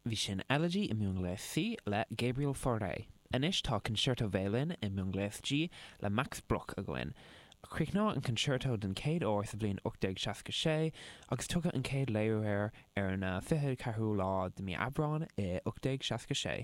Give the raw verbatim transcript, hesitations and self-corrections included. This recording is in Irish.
Bhí sin Elegy i mBunghléas C le Gabriel Fauré. Anois tá Concerto Veidhlin i mBunghléas G le Max Bruch againn. Críochnaíodh an concerto den chéad uair sa bhliain ocht déag seasca sé agus tugadh an chéad léiriú air ar an fiche ceathrú lá de mí Aibreáin i ocht déag seasca sé.